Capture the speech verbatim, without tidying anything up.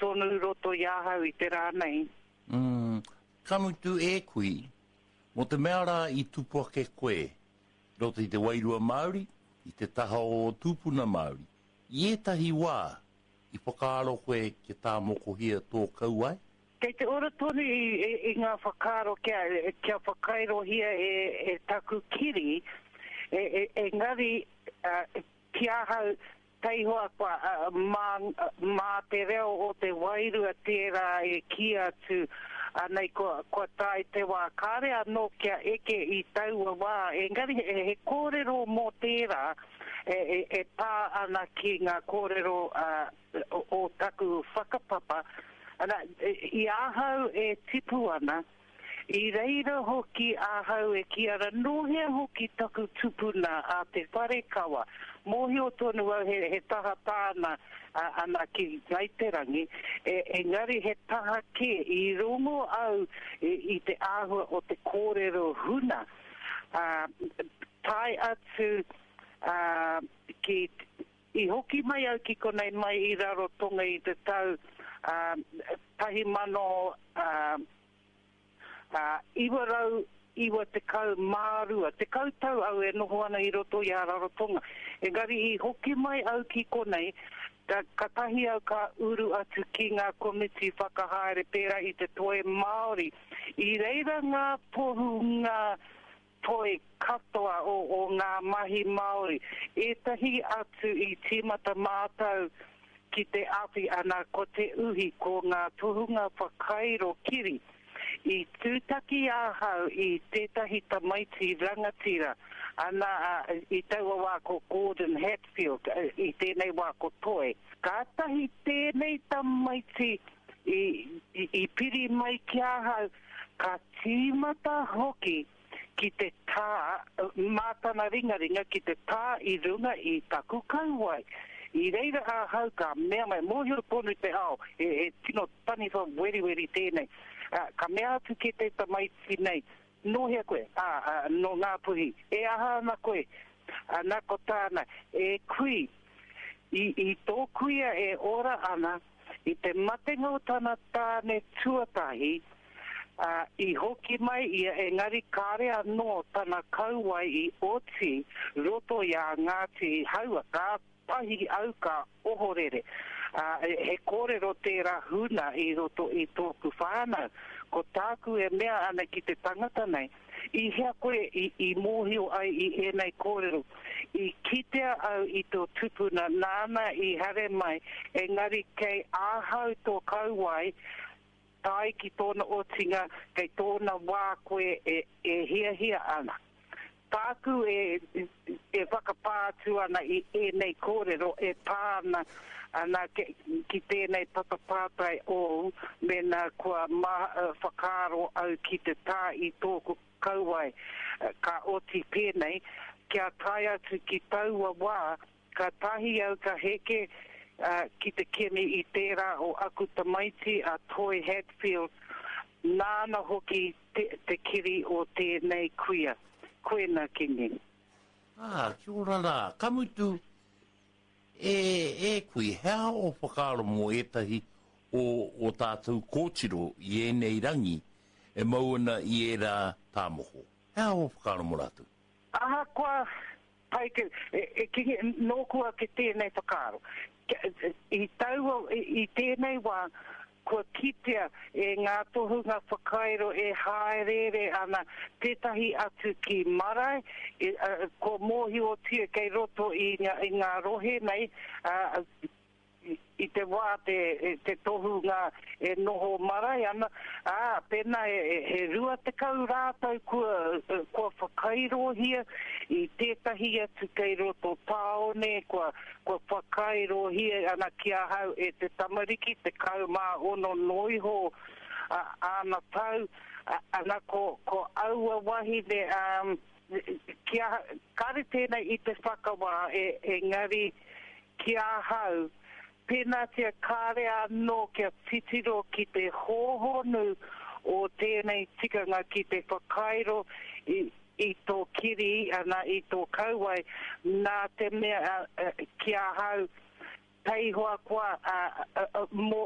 tonu roto i ahau i te rā nei. Mm, ka mutu e kui, mō te mea rā i tupu ake koe roto i te wairua Māori, i te taha o ō tūpuna Māori. I ētahi wā i whakaaro koe kia tāmokohia tō kauae? Kei te ora tonu i, i, i ngā whakaaro kia, kia whakairohia e, e taku kiri, e, e, engari uh, ki ahau taihoa kua uh, mā, mā te reo o te wairua tērā e kī atu anei kua, kua tae te wā. Kāre anō kia eke i taua wā, engari he, he kōrero mō tērā e, e, e pā ana ki ngā kōrero uh, o, o taku whakapapa. Ana, i ahau e tipu ana, i reira hoki ahau e kī ana, nō hea hoki taku tupuna a Te Wharekawa. Mōhio tonu au he, he taha tāna ana ki Ngāi Te Rangi, e, engari he taha kē, i rongo au i, i te āhua o te kōrero huna, uh, tae atu uh, ki, i hoki mai au ki konei mai i Rarotonga i te tau uh, tahi mano uh, uh, iwa rau iwa tekau mā rua, tekau tau au e noho ana i roto i a Rarotonga. Engari i hoki mai au ki konei, ka, katahi au ka uru atu ki ngā komiti whakahaere pērā i te Toi Māori. I reira ngā tohunga toi katoa o, o ngā mahi Māori. Ētahi atu i tīmata mātou ki te awhi ana ko te uhi, ko ngā tohunga whakairo kiri. I tūtaki ahau i tētahi tamaiti rangatira, ana i taua wā ko Gordon Hatfield, i tēnei wā ko Toi. Kātahi tēnei tamaiti i, i, i piri mai ki ahau, ka tīmata hoki ki te tā, mā tana ringaringa ki te tā i runga i taku kauae. I reira ahau ka mea mai, mōhio tonu te ao, he, he tino taniwha weriweri tēnei. Uh, ka mea atu ki te tamaiti nei, nō hea koe? Ā, uh, nō Ngāpuhi. E aha ana koe? Ana ko tāna, e kui, i, i tō kuia e ora ana, i te matenga o tana tāne tuatahi, uh, i hoki mai ia, engari kāre anō tana kauae i oti roto i a Ngāti Haua. Kātahi au ka ohorere. Uh, he kōrero tērā huna i roto i tōku whānau. Ko tāku e mea ana ki te tangata nei, i hea koe i, i mōhio ai i ēnei kōrero? I kitea au i tō tupuna nāna i haere mai, engari kei ahau tō kauae, tae ki tōna otinga, kei tōna wā koe e, e hiahia ana. Tāku e, e whakapā atu ana i ēnei kōrero e pā ana, ana ki, ki tēnei patapātai ōu, mēnā kua ma, whakaaro au ki te tā i tōku kauae, ka oti pēnei, kia tae atu ki taua wā, kātahi au ka heke uh, ki te kimi i tērā o aku tamaiti a Toi Hatfield, nāna hoki te, te kiri o tēnei kuia. Koena, Kingi. Ā, kia ora rā. Ka mutu, e, e kui, he aha ō whakaaro mō ētahi o ō tātou kōtiro i ēnei rangi e mau ana i ērā tāmoko? He aha ō whakaaro mō rātou? Ahakoa pai ke, e, e Kingi, nōku ake tēnei whakaaro. I taua, i, i tēnei wā, kua kitea e ngā tohunga whakairo e hāereere ana tētahi atu ki marae, e, uh, kua mōhiotia kei roto i ngā, i ngā rohe nei, uh, i te wā te, te tohunga e noho marae ana, ā, pēnā e, e, he rua tekau rātou kua, kua whakairohia i tētahi atu kei roto tāone, kua, kua whakairohia ana ki ahau e te tamariki, tekau mā ono noa iho āna tau, ana ko, ko aua wahine, um, ki aha, kāre tēnei i te whakawā, e, engari ki ahau, pēnātia kāre anō kia titiro ki te hōhonu o tēnei tikanga ki te whakairo i, i tō kiri, ana, i tō kauae, nā te mea ki ahau, taihoa koa mō